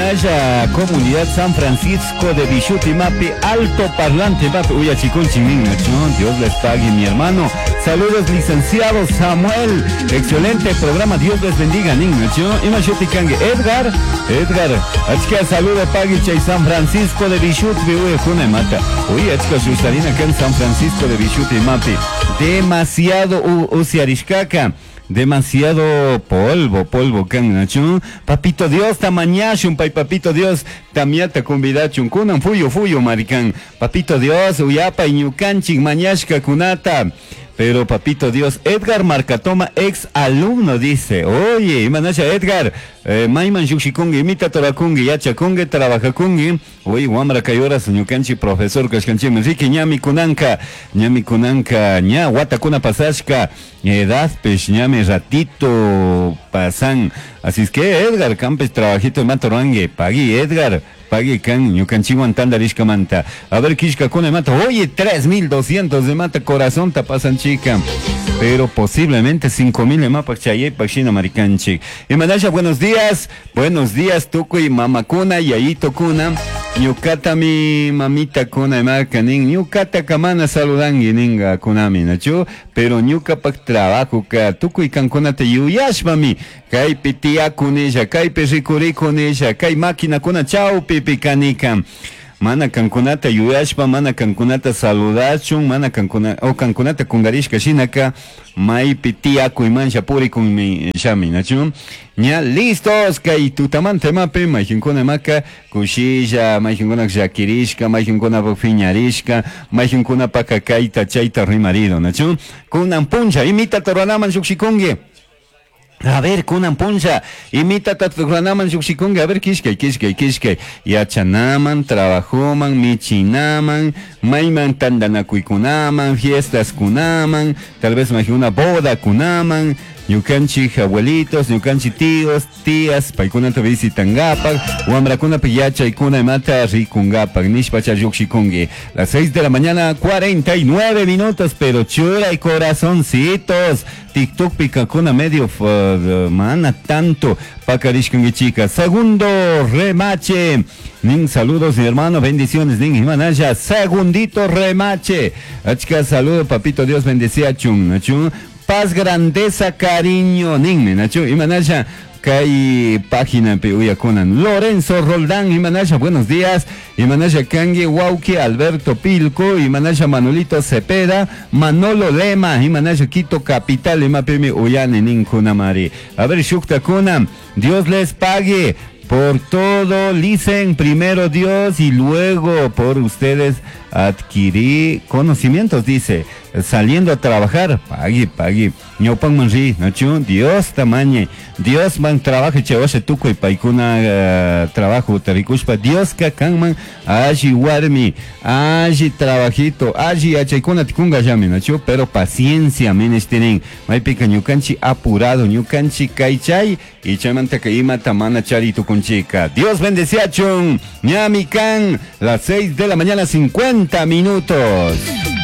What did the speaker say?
Shinalla comunidad San Francisco de Bishuti mapi alto parlante mapi uyachikunchik nin, nachu? Dios les pague, mi hermano. Saludos, licenciado Samuel. Excelente programa, Dios les bendiga, nin, nachu? Ima shuti kanki? Edgar, Edgar. Achka saludo pagui chay San Francisco de Bishuti uyajuna imata. Uy, achka sustarina kan San Francisco de Bishuti mapi. Demasiado usiarishkaka. Demasiado polvo, polvo kan, nachu? Papito Dios tamañashun, pay papito Dios tamiata convidachun, kunan fuyu fuyu marican. Papito Dios uyapay ñukanchik mañashka kunata. Pero papito Dios, Edgar Marcatoma, ex alumno, dice, oye, imanasha Edgar, mayman llukshikunki, imita torakunki, yachakunki, trabajakunki. Oye, wamra kay horas ñukanchik profesor kashkanchikmi, riki ñami kunanka, ñami kunanka, ña watakuna pasashka, edadpish ñami ratito pasan. Así es que Edgar, kampis trabajito imata ruranki, pagui Edgar, pagui kan ñukanchikwan tantarishkamanta. A ver, kishkakuna imata, oye, 3200 imata corazonta pasan chica. Pero posiblemente 5000 imapak chayaypak shina marikanchik. Imanasha, buenos días, buenos días tukuy mamakuna, yayitokuna. Ñukatami mamita kuna imaka nin, ñukata kamana saludangi ninga kunami, nachu? Pero ñukapak trabajo ka tukuy kankunata yuyashpami kaypi tiyakunisha, kaypi rikurikunisha, kay maquinakuna chawpipi kanika. Mana kankunata yuyashpa, mana kankunata saludachun, mana kankuna, o kankunata kungarishka shinaka maypi tiyakuymansha purikunmi shami, nachu? Ña listos kay tutamanta imapi mayjinkuna imaka kushilla, mayjinkuna llakirishka, mayjinkuna piñarishka, mayjinkuna paka kayta chayta rimarido, nachu? Kunan puncha, imita toranaman llukshikunki. A ver, kunan puncha, imita tatukranaman llukshikunki, a ver, kishkay, kishkay, kishkay. Yachanaman, trabajoman, michinaman, mayman tandanakuykunaman, fiestas kunaman, tal vez una boda kunaman, ñukanchik abuelitos, ñukanchik tíos, tías, paykunata visitangapak, wamrakunapi yachaykuna imata rikungapak, nishpacha llukshikunki. Las 6 de la mañana, 49 minutos, pero churay corazoncitos. TikTok pikakuna medio mana tanto pakarishkankichika. Segundo remache. Nin saludos mi hermano, bendiciones nin imanasha. Segundito remache. Achka saludo papito Dios bendecía chun, nachun. Paz, grandeza, cariño, nin nachu imanasha. Kay página pi uyakunan. Lorenzo Roldán, Imanasha, buenos días. Imanasha Kangi, Wauki, Alberto Pilco, Imanasha Manolito Cepeda, Manolo Lema, Imanasha Quito Capital, Imapimi Uyane Ninkunamari. A ver, Shukta Kuna, Dios les pague por todo, dicen primero Dios y luego por ustedes adquirí conocimientos, dice, saliendo a trabajar, pagui, pagui, ñaupan manri, nachu, Dios tamañe, Dios man trabaja, che, tuco y paikuna trabajo, tarikushpa, Dios kakanman, alli warmi, alli trabajito, alli achaykuna tikunga llami, nachu, pero paciencia, menesterin, maypika ñukanchi apurado, ñukanchi kaychay, y chaymanta que imata mana chari tukunchika. Dios bendeciachun, ñami kan, las 6 de la mañana, 50 minutos.